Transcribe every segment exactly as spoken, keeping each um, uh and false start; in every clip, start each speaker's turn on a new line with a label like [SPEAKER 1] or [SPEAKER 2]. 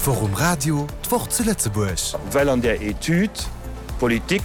[SPEAKER 1] D'Woch um Radio, d'Woch zu Lëtzebuerg.
[SPEAKER 2] Well an där Etüd d'Politik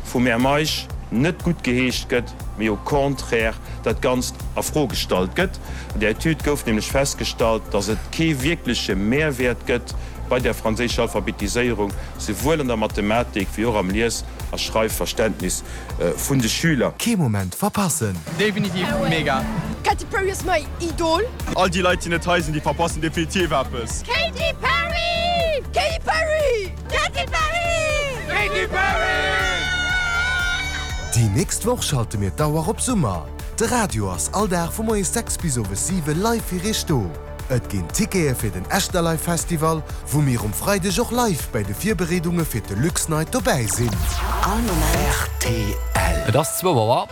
[SPEAKER 2] vum Här Meisch net guttgeheescht gëtt, mee au contraire dat Ganzt a Fro gestallt gëtt. An där Etüd gouf nämlech festgestallt, datt et kee wierkleche Mehrwäert gëtt bei der franséischer Alphabetiséierung, souwuel an der Mathematik wéi och am Lies a Schreifverständnis vun de Schüler.
[SPEAKER 1] Kee Moment verpassen!
[SPEAKER 3] Definitiv mega!
[SPEAKER 4] Katy Perry ass mäin Idol!
[SPEAKER 3] All déi Leit déi net hei sinn, déi verpassen definitiv eppes!
[SPEAKER 4] Katy Perry! Katy Perry! Katy Perry!
[SPEAKER 3] Katy Perry!
[SPEAKER 1] Déi nächst Woch schalte mir d'Auer op Summer. De Radio ass all Dag vu moies sechs bis owes siwe live fir iech do. Et ginn Tickete fir den Echterlive Festival, wou mir um Freideg och live bei de Virbereedunge fir de Luxnight dobäi sinn.
[SPEAKER 5] All Moment.
[SPEAKER 1] R T L.
[SPEAKER 6] Et ass zwou Auer.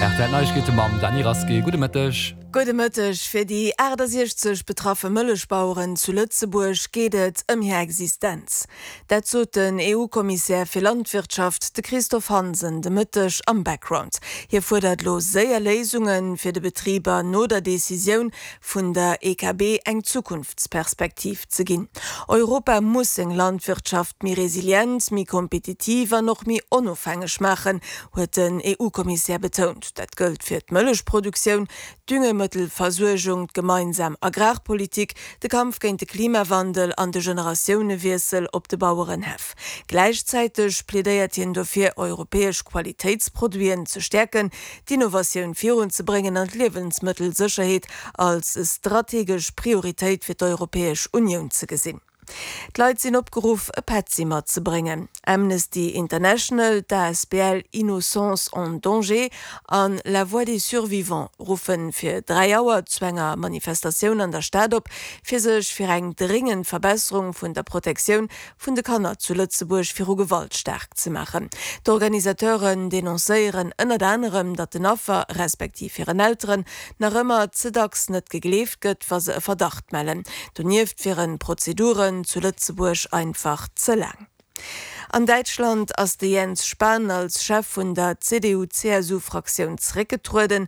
[SPEAKER 6] R T L Neiegkeete mam Dany Rasqué. Gudde Mëtteg.
[SPEAKER 7] Gudde Mëtteg. Fir déi aachtasechzeg betraffe Mëllechbaueren zu Lëtzebuerg geet et ëm hir Existenz. Dat sot den E U-Kommissär fir Landwirtschaft, de Christophe Hansen, de Mëtteg am Background. Hie fuerdert elo séier Léisunge fir de Betriber no der Decisioun vun der E K B eng Zukunftsperspektiv ze ginn. Europa muss seng Landwirtschaft méi resilient, méi kompetitiv an och méi onofhängeg maachen, huet den E U-Kommissär betount. Dat gëllt fir d'Mëllechproduktioun, d'Düngemëttelversuergung, d'gemeinsam Agrarpolitik, de Kampf géint de Klimawandel an de Generatiounewiessel op de Bauerenhäff. Gläichzäiteg plädéiert hien dofir, europäesch Qualitéitsproduiten ze stäerken, d'Innovatioun virunzebréngen an d'Liewensmëttelsécherheet als strategesch Prioritéit fir d'Europäesch Unioun ze gesinn. D'Leit sinn opgeruff, e Petzi matzebréngen. Amnesty International, d'A S B L Innocence en danger an La Voix des Survivants ruffe fir dräi Auer zu enger Manifestatioun an der Stad op, fir sech fir eng dréngend Verbesserung vun der Protektioun vun de Kanner zu Lëtzebuerg viru Gewalt staark ze maachen. D'Organisateuren denoncéieren ënnert anerem, datt den Affer respektiv hiren Elteren nach ëmmer ze dacks net gegleeft gëtt, wa se e Verdacht mellen. Donieft wieren d'Prozeduren zu Lëtzebuerg einfach ze laang. An Däitschland ass de Jens Spahn als Chef vun der C D U C S U-Fraktioun zeréckgetrueden.